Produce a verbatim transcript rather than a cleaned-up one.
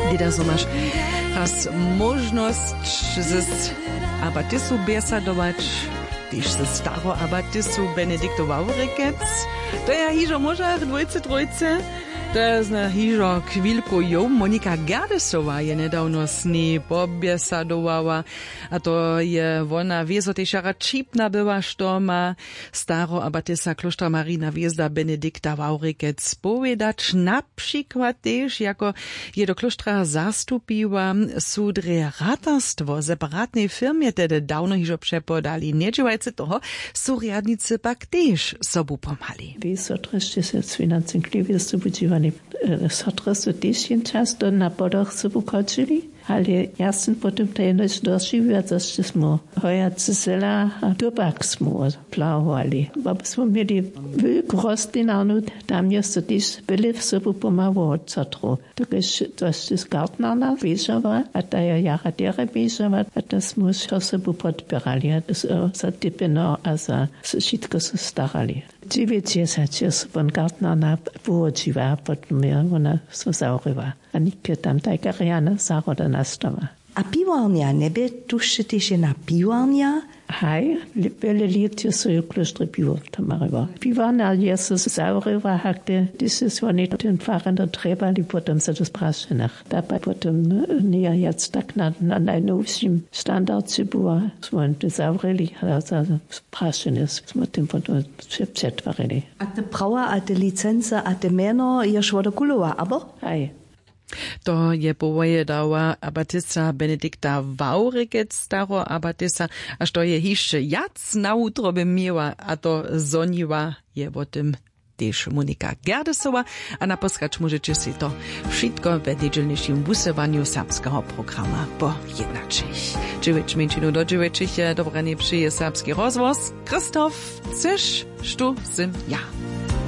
Wěda zo maš raz móžnosć z abatisu bjesadować, tež ze staro abatisu Benediktu Wawrikec. To ja hižo móžach dwójce trójce. To je zna hižo chwilku jow. Monika Gerdesowa je njedawno z njej pobjesadowała. A to je wona wězo tež jara ćipna była, što ma staro abatisa klóštra Marina Hwězda Benedikta Wawrikec powědać. Na přikład tež, jako je do klóštra zastupiła, su drje ratarstwo w separatnej firmje tehdy dawno hižo přepodali. Njedźěłajcy toho su rjadnicy pak tež sobu pomhali. Wy so trješte se z financem kliwje sobu dźiwali. Sotre su tež jen často na podoch sobu chodźili. Ale ja sym potom to jenož dožiwiła, zo sće smy hojace zela a tobak smy plahowali. Bo smy měli wulku rostlinarnu, tam je so tež byle sobu pomhało wot sotrow. Dokelž to sće gartnarna běžała a ta je jara derje běžała a to smy wšo sobu podpěrali a za tepeno a za wšitko so starali. Dźewjećdźesat je so won gartnarna połodźiła a potom je wona so zawrěła. A nětko tam tajka rjana zahroda nastała. A piwarnja, njebě tu wšě tež jedna piwarnja? Haj, bjele lět je so jo klóštrje piwo tomarjował. Piwarnja je so zawrěła, hak te, hdyž su woni ten farender trjebali, potom so to z prašenach. Ta pak potom njeje wjac tak na, na najnowšim standardźe była, smy to zawrěli a za prašenje smy tym potom přetwarili. A te prawa a te licency a te mjeno ješ wodokulowa, abo? Haj. To je powědała abatisa Benedikta Wawrikec, staro abatisa, a što je hišće wjac na wutrobje měła a to zhoniła, je wo tym tež Monika Gerdesowa. A naposkać móžeće sej to wšitko we njedźelnišim wusyłanju serbskeho programa po jednaćich. Dźewjeć mjeńšinu do dźewjećich je dobranje přeje Serbski rozhłos. Christoph, chceš, štó sym ja.